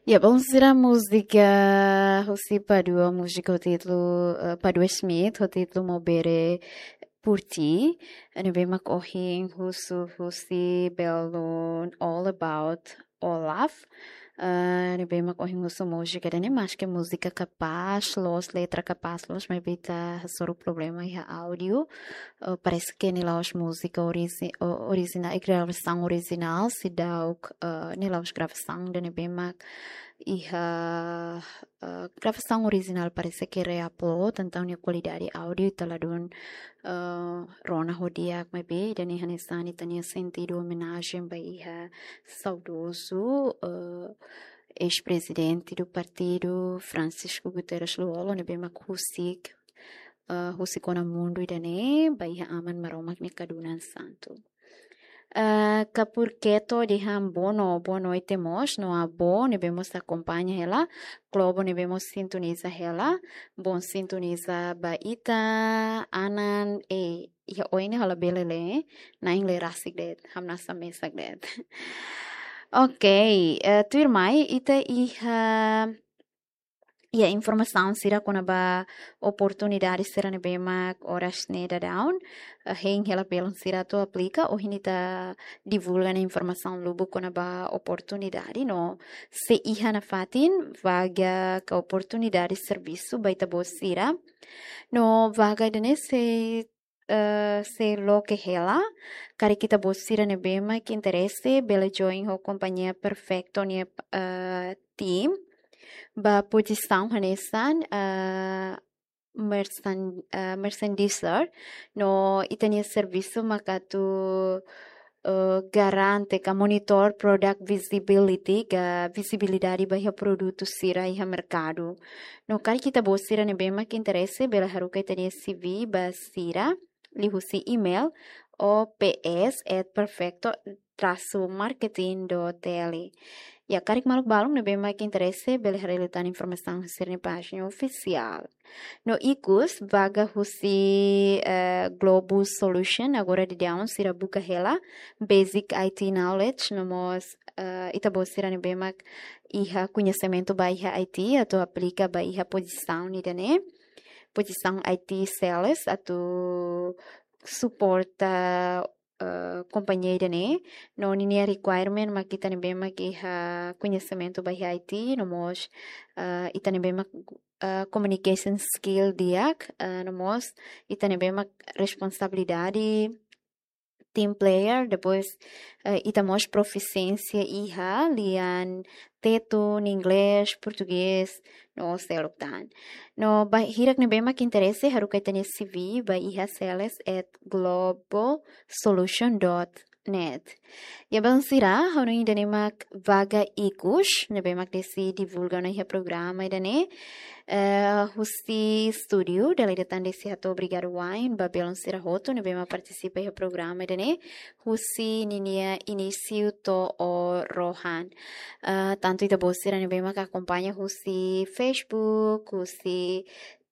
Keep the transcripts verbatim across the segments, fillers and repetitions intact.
Ya, bom, sira múzika husi Padua, múzika ho títulu, eh, Padua Schmidt, ho títulu Mou Bere Por Ti. Ne'ebé mak ohin husu husi belun All About Olaf. Eh, ne'ebé mak ohin husu múzika ida-ne'e, maske múzika kapás loos, letra kapás loos, maibé ita hasoru problema iha áudio. Eh, parese ke nia la'ós múzika oriji-, o-, orijinál, eh, gravasaun orijinál, seidauk, eh, nia la'ós gravasaun ida ne'ebé mak iha, eh, gravasaun orijinál parese ke reupload, entaun nia kualidade áudio ita ladún, eh, rona ho di'ak, maibé ida-ne'e hanesan ita-nia sentidu omenajen ba iha saudozu, eh, eis-prezidente do partidu, Francisco Guterres Lú-Olo, ne'ebé mak husik, eh, husik ona mundu ida-ne'e ba iha Aman Maromak nia kadunan santu. Eh, Kapur Keto dehan boa no-, boa noite mós, no avó ne'ebé mós akompaña hela, Globo ne'ebé mós sintoniza hela, bom sintoniza ba ita, Anan, eh, iha oin ne'e ha'u labele lee, na'in lee rasik de'it, hamnasa mesak de'it. Ok, eh, tuirmai, ita iha, iha informasaun sira kona-ba oportunidade sira ne'ebé mak oras ne'e daudaun, eh, hein hela belun sira atu aplika, ohin ita divulga ona informasaun lubuk kona-ba oportunidade, no sei iha nafatin vaga ka oportunidade servisu ba ita-boot sira. No vaga ida-ne'e sei, eh, sei loke hela, karik ita-boot sira ne'ebé mak interese, bele join ho kompañia Perfecto nia, eh, team, ba pozisaun hanesan, eh, merchan-, eh, merchandiser, no ita-nia servisu mak atu, eh, garante ka monitor product visibility, ka vizibilidade ba iha produtu sira iha merkadu. No karik ita-boot sira ne'ebé mak interese, bele haruka ita-nia C V ba sira, liuhusi email, O P S at perfecto traço marketing dot T L. Ya, karik maluk balun ne'ebé mak interese, bele haree liután informasaun husi sira-nia pájina ofisiál. No ikus, vaga husi, eh, Globo Solution, agora daudaun sira buka hela, basic I T knowledge, no mós, eh, ita-boot sira ne'ebé mak iha koñesimentu ba iha I T, atu aplika ba iha pozisaun ida-ne'e, pozisaun I T sales, atu suporta, eh, kompañia ida-ne'e, no ninia requirement mak ita ne'ebé mak iha koñesimentu ba iha I T, no mós, eh, ita ne'ebé mak, eh, communication skill di'ak, eh, no mós ita ne'ebé mak responsabilidade, team player, depois, eh, ita mós profisiénsia iha lian Tetun, Inglés, Portugés, no seluk tan. No ba hirak ne'ebé mak interese, haruka ita-nia C V ba iha sales at globo solution dot net. Ya, belun sira, ha'u hanoin ida-ne'e mak vaga ikus ne'ebé mak Desi divulga ona iha programa ida-ne'e. Eh, husi estúdiu, dala ida tan Desi hato'o obrigadu wa'in ba belun sira hotu ne'ebé mak partisipa iha programa ida-ne'e, husi ninia inísiu to'o rohan. Eh, tantu ita-boot sira ne'ebé mak akompaña husi Facebook, husi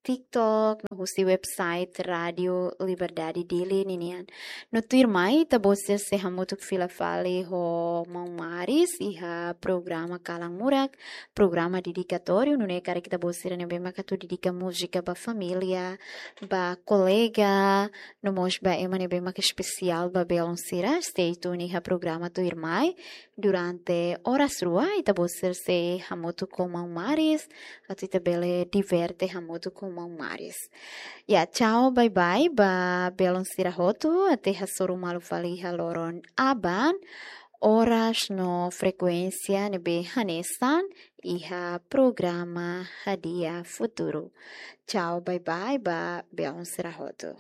TikTok, no husi website Rádio Liberdade Dili ninian. No tuirmai, ita-boot sira sei hamutuk fila fali ho maun Maris iha programa Kalan Murak, programa dedikatóriu, nune'e karik ita-boot sira ne'ebé mak atu dedika múzika ba família, ba kolega, no mós ba ema ne'ebé mak espesiál ba belun sira, stay tune iha programa tuirmai. Durante oras rua, ita-boot sira sei hamutuk ho maun Maris, atu ita bele diverte hamutuk ho maun Maris. Ya, tchau, bye bye, ba belun sira hotu, até hasoru malu fali iha loron aban, oras no frekuénsia ne'ebé hanesan, iha programa Hadi'a Futuru. Tchau, bye bye, ba belun sira hotu.